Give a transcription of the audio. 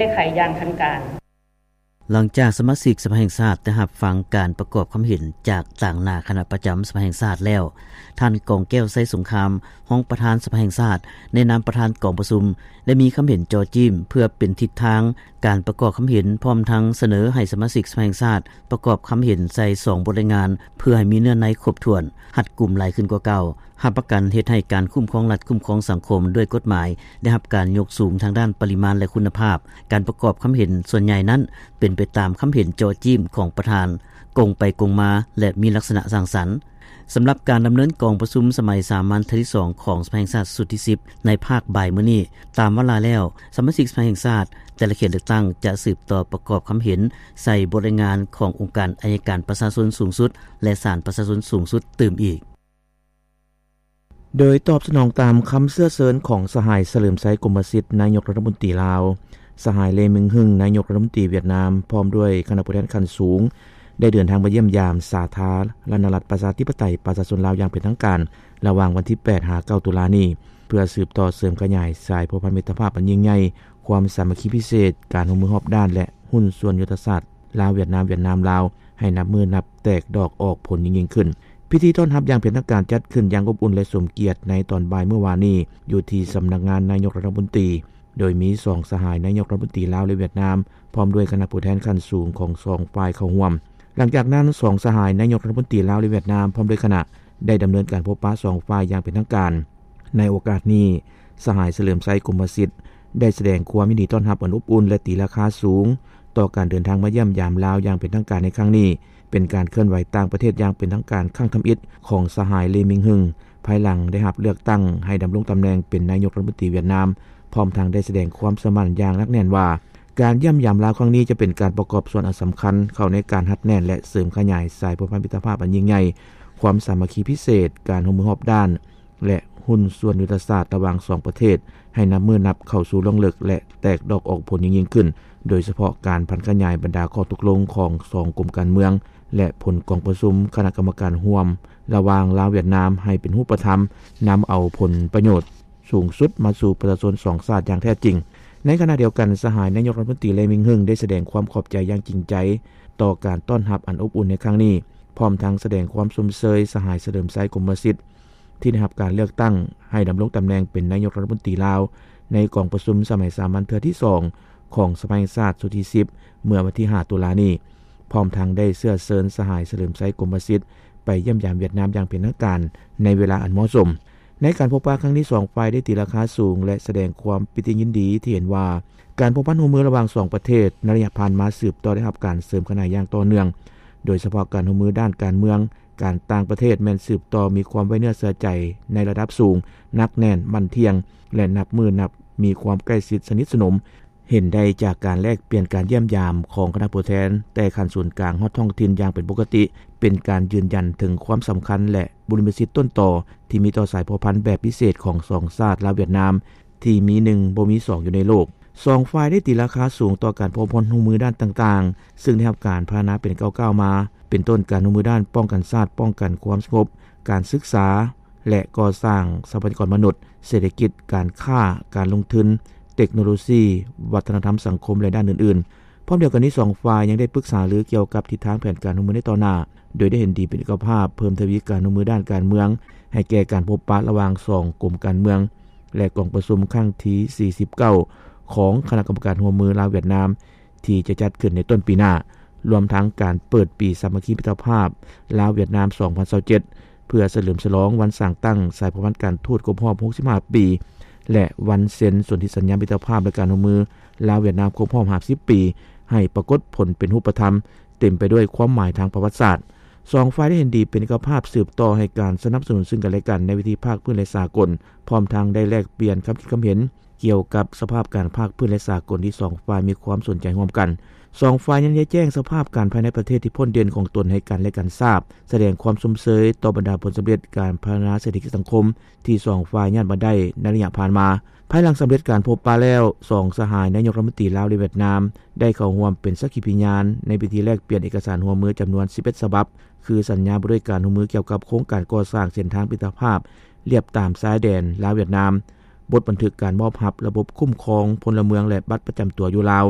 ແກ້ໄຂຢ່າງທັນການ. ຫຼັງຈາກສະມາຊິກສະພາແຫ່ງຊາດໄດ້ຮັບຟັງການປະກອບຄຳເຫັນຈາກຕາງໜ້າຄະນະປະຈຳສະພາແຫ່ງຊາດແລ້ວ, ທ່ານ ກອງແກ້ວ ໄຊສົງຄາມ ຮອງປະທານສະພາແຫ່ງຊາດ ໃນນາມປະທານກອງປະຊຸມ ໄດ້ມີຄຳເຫັນເຈາະຈີ້ມເພື່ອເປັນທິດທາງການປະກອບຄຳເຫັນ, ພ້ອມທັງສະເໜີໃຫ້ສະມາຊິກສະພາແຫ່ງຊາດປະກອບຄຳເຫັນໃສ່ສອງບົດລາຍງານ ເພື່ອໃຫ້ມີເນື້ອໃນຄົບຖ້ວນ, ຮັດກຸມຫຼາຍຂຶ້ນກວ່າເກົ່າ. ຮັບປະກັນເຮັດໃຫ້ການຄຸ້ມຄອງລັດ, ຄຸ້ມຄອງສັງຄົມດ້ວຍກົດໝາຍ ໄດ້ຮັບການຍົກສູງທາງດ້ານປະລິມານ ແລະ ຄຸນນະພາບ. ການປະກອບຄຳເຫັນສ່ວນໃຫຍ່ນັ້ນ ເປັນໄປຕາມຄຳເຫັນເຈາະຈີ້ມຂອງປະທານ, ກົງໄປກົງມາ ແລະ ມີລັກສະນະສ້າງສັນ. ສຳລັບການດຳເນີນກອງປະຊຸມສະໄໝສາມັນເທື່ອທີສອງຂອງສະພາແຫ່ງຊາດຊຸດທີສິບ ໃນພາກບ່າຍມື້ນີ້, ຕາມວາລະແລ້ວ, ສະມາຊິກສະພາແຫ່ງຊາດແຕ່ລະເຂດເລືອກຕັ້ງຈະສືບຕໍ່ປະກອບຄຳເຫັນໃສ່ບົດລາຍງານຂອງອົງການໄອຍະການປະຊາຊົນສູງສຸດ ແລະ ສານປະຊາຊົນສູງສຸດຕື່ມອີກ. ໂດຍຕອບສະໜອງຕາມຄຳເຊື້ອເຊີນຂອງສະຫາຍ ສະເຫຼີມໄຊ ກົມມະສິດ ນາຍົກລັດຖະມົນຕີລາວ, ສະຫາຍ ເລ ມິງຮຶງ ນາຍົກລັດຖະມົນຕີຫວຽດນາມ ພ້ອມດ້ວຍຄະນະຜູ້ແທນຂັ້ນສູງ ໄດ້ເດີນທາງມາຢ້ຽມຢາມສາທາລະນະລັດ ປະຊາທິປະໄຕ ປະຊາຊົນລາວຢ່າງເປັນທາງການ ລະຫວ່າງວັນທີແປດ ຫາ ເກົ້າ ຕຸລານີ້ ເພື່ອສືບຕໍ່ເສີມຂະຫຍາຍສາຍພົວພັນມິດຕະພາບອັນຍິ່ງໃຫຍ່, ຄວາມສາມັກຄີພິເສດ, ການຮ່ວມມືຮອບດ້ານ ແລະ ຫຸ້ນສ່ວນຍຸດທະສາດ ລາວ-ຫວຽດນາມ, ຫວຽດນາມ-ລາວ ໃຫ້ນັບມື້ນັບແຕກດອກອອກຜົນຍິ່ງໆຂຶ້ນ. ພິທີຕ້ອນຮັບຢ່າງເປັນທາງການຈັດຂຶ້ນຢ່າງອົບອຸ່ນ ແລະ ສົມກຽດໃນຕອນບ່າຍມື້ວານນີ້ ຢູ່ທີ່ສຳນັກງານນາຍົກລັດຖະມົນຕີ, ໂດຍມີສອງສະຫາຍນາຍົກລັດຖະມົນຕີລາວ ແລະ ຫວຽດນາມ ພ້ອມດ້ວຍຄະນະຜູ້ແທນຂັ້ນສູງຂອງສອງຝ່າຍເຂົ້າຮ່ວມ. ຫຼັງຈາກນັ້ນ, ສອງສະຫາຍນາຍົກລັດຖະມົນຕີລາວ ແລະ ຫວຽດນາມ ພ້ອມດ້ວຍຄະນະ ໄດ້ດຳເນີນການພົບປະສອງຝ່າຍຢ່າງເປັນທາງການ. ໃນໂອກາດນີ້, ສະຫາຍ ສະເຫຼີມໄຊ ກົມມະສິດ ໄດ້ສະແດງຄວາມຍິນດີຕ້ອນຮັບອັນອົບອຸ່ນ ແລະ ຕີລາຄາສູງຕໍ່ການເດີນທາງມາຢ້ຽມຢາມລາວຢ່າງເປັນທາງການໃນຄັ້ງນີ້, ເປັນການເຄື່ອນໄຫວຕ່າງປະເທດຢ່າງເປັນທາງການຄັ້ງທຳອິດຂອງສະຫາຍ ເລ ມິງຮຶງ ພາຍຫຼັງໄດ້ຮັບເລືອກຕັ້ງໃຫ້ດຳລົງຕຳແໜ່ງເປັນນາຍົກລັດຖະມົນຕີຫວຽດນາມ, ພ້ອມທັງໄດ້ສະແດງຄວາມເຊື່ອໝັ້ນຢ່າງໜັກແໜ້ນວ່າ ການຢ້ຽມຢາມລາວຄັ້ງນີ້ຈະເປັນການປະກອບສ່ວນອັນສຳຄັນເຂົ້າໃນການຮັດແໜ້ນ ແລະ ເສີມຂະຫຍາຍສາຍພົວພັນມິດຕະພາບອັນຍິ່ງໃຫຍ່, ຄວາມສາມັກຄີພິເສດ, ການຮ່ວມມືຮອບດ້ານ ແລະ ຫຸ້ນສ່ວນຍຸດທະສາດລະຫວ່າງສອງປະເທດ ໃຫ້ນັບມື້ນັບເຂົ້າສູ່ລວງເລິກ ແລະ ແຕກດອກອອກຜົນຍິ່ງໆຂຶ້ນ, ໂດຍສະເພາະການຜັນຂະຫຍາຍບັນດາຂໍ້ຕົກລົງຂອງສອງກົມການເມືອງ ແລະ ຜົນກອງປະຊຸມຄະນະກຳມະການຮ່ວມລະຫວ່າງລາວ-ຫວຽດນາມໃຫ້ເປັນຮູບປະທຳ, ນຳເອົາຜົນປະໂຫຍດສູງສຸດມາສູ່ປະຊາຊົນສອງຊາດຢ່າງແທ້ຈິງ. ໃນຂະນະດຽວກັນ, ສະຫາຍນາຍົກລັດຖະມົນຕີ ເລ ມິງຮຶງ ໄດ້ສະແດງຄວາມຂອບໃຈຢ່າງຈິງໃຈຕໍ່ການຕ້ອນຮັບອັນອົບອຸ່ນໃນຄັ້ງນີ້, ພ້ອມທັງສະແດງຄວາມຊົມເຊີຍສະຫາຍ ສະເຫຼີມໄຊ ກົມມະສິດ ທີ່ໄດ້ຮັບການເລືອກຕັ້ງໃຫ້ດຳລົງຕຳແໜ່ງເປັນນາຍົກລັດຖະມົນຕີລາວ ໃນກອງປະຊຸມສະໄໝສາມັນເທື່ອທີສອງຂອງສະພາແຫ່ງຊາດຊຸດທີສິບ ເມື່ອວັນທີຫ້າ ຕຸລານີ້, ພ້ອມທັງໄດ້ເຊື້ອເຊີນສະຫາຍ ສະເຫຼີມໄຊ ກົມມະສິດ ໄປຢ້ຽມຢາມຫວຽດນາມຢ່າງເປັນທາງການໃນເວລາອັນເໝາະສົມ. ໃນການພົບປະຄັ້ງນີ້, ສອງຝ່າຍໄດ້ຕີລາຄາສູງ ແລະ ສະແດງຄວາມປີຕິຍິນດີທີ່ເຫັນວ່າ ການພົວພັນຮ່ວມມືລະຫວ່າງສອງປະເທດໃນໄລຍະຜ່ານມາ ສືບຕໍ່ໄດ້ຮັບການເສີມຂະຫຍາຍຢ່າງຕໍ່ເນື່ອງ, ໂດຍສະເພາະການຮ່ວມມືດ້ານການເມືອງ, ການຕ່າງປະເທດແມ່ນສືບຕໍ່ມີຄວາມໄວ້ເນື້ອເຊື່ອໃຈໃນລະດັບສູງ, ໜັກແໜ້ນ, ໝັ້ນທ່ຽງ ແລະ ນັບມື້ນັບມີຄວາມໃກ້ຊິດສະໜິດສະໜົມ. ເຫັນໄດ້ຈາກການແລກປ່ຽນການຢ້ຽມຢາມຂອງຄະນະຜູ້ແທນແຕ່ຂັ້ນສູນກາງຮອດທ້ອງຖິ່ນຢ່າງເປັນປົກກະຕິ, ເປັນການຢືນຢັນເຖິງຄວາມສຳຄັນ ແລະ ບຸລິມະສິດຕົ້ນຕໍທີ່ມີຕໍ່ສາຍພົວພັນແບບພິເສດຂອງສອງຊາດລາວ-ຫວຽດນາມ ທີ່ມີໜຶ່ງບໍ່ມີສອງຢູ່ໃນໂລກ. ສອງຝ່າຍໄດ້ຕີລາຄາສູງຕໍ່ການພົວພັນຮ່ວມມືດ້ານຕ່າງໆ ຊຶ່ງໄດ້ຮັບການພັດທະນາເປັນກ້າວໆມາ, ເປັນຕົ້ນການຮ່ວມມືດ້ານປ້ອງກັນຊາດ, ປ້ອງກັນຄວາມສະຫງົບ, ການສຶກສາ ແລະ ກໍ່ສ້າງຊັບພະຍາກອນມະນຸດ, ເສດຖະກິດ, ການຄ້າ, ການລົງທຶນ, ເຕັກໂນໂລຊີ, ວັດທະນະທຳສັງຄົມ ແລະ ດ້ານອື່ນໆ. ພ້ອມດຽວກັນນີ້, ສອງຝ່າຍຍັງໄດ້ປຶກສາລືກ່ຽວກັບທິດທາງແຜນການຮ່ວມມືໃນຕໍ່ໜ້າ, ໂດຍໄດ້ເຫັນດີເປັນເອກະພາບເພີ່ມທະວີການຮ່ວມມືດ້ານການເມືອງ ໃຫ້ແກ່ການພົບປະລະຫວ່າງສອງກົມການເມືອງ ແລະ ກອງປະຊຸມຄັ້ງທີສີ່ສິບເກົ້າຂອງຄະນະກຳມະການຮ່ວມມືລາວ-ຫວຽດນາມ ທີ່ຈະຈັດຂຶ້ນໃນຕົ້ນປີໜ້າ, ລວມທັງການເປີດປີສາມັກຄີມິດຕະພາບລາວ-ຫວຽດນາມ ສອງພັນຊາວເຈັດ ເພື່ອສະເຫຼີມສະຫຼອງວັນສ້າງຕັ້ງສາຍພົວພັນການທູດຄົບຮອບຫົກສິບຫ້າປີ ແລະ ວັນເຊັນສົນທິສັນຍາມິດຕະພາບ ແລະ ການຮ່ວມມືລາວ-ຫວຽດນາມຄົບຮອບຫ້າສິບປີ ໃຫ້ປາກົດຜົນເປັນຮູບປະທຳ, ເຕັມໄປດ້ວຍຄວາມໝາຍທາງປະຫວັດສາດ. ສອງຝ່າຍໄດ້ເຫັນດີເປັນເອກະພາບສືບຕໍ່ໃຫ້ການສະໜັບສະໜູນຊຶ່ງກັນແລະກັນໃນເວທີພາກພື້ນ ແລະ ສາກົນ, ພ້ອມທັງໄດ້ແລກປ່ຽນຄຳຄິດຄຳເຫັນ ກ່ຽວກັບສະພາບການພາກພື້ນ ແລະ ສາກົນທີ່ສອງຝ່າຍມີຄວາມສົນໃຈຮ່ວມກັນ. ສອງຝ່າຍຍັງໄດ້ແຈ້ງສະພາບການພາຍໃນປະເທດທີ່ພົ້ນເດັ່ນຂອງຕົນໃຫ້ກັນ ແລະ ກັນຊາບ, ສະແດງຄວາມຊົມເຊີຍຕໍ່ບັນດາຜົນສຳເລັດການພັດທະນາເສດຖະກິດສັງຄົມທີ່ສອງຝ່າຍຍາດມາໄດ້ໃນໄລຍະຜ່ານມາ. ພາຍຫຼັງສຳເລັດການພົບປະແລ້ວ, ສອງສະຫາຍນາຍົກລັດຖະມົນຕີລາວ ແລະ ຫວຽດນາມ ໄດ້ເຂົ້າຮ່ວມເປັນສັກຂີພິຍານໃນພິທີແລກປ່ຽນເອກະສານຮ່ວມມືຈຳນວນສິບເອັດສະບັບ, ຄືສັນຍາວ່າດ້ວຍການຮ່ວມມືກ່ຽວກັບໂຄງການກໍ່ສ້າງເສັ້ນທາງມິດຕະພາບລຽບຕາມຊາຍແດນລາວ-ຫວຽດນາມ, ບົດບັນທຶກການມອບຮັບລະບົບຄຸ້ມຄອງພົນລະເມືອງ ແລະ ບັດປະຈຳຕົວຢູ່ລາວ,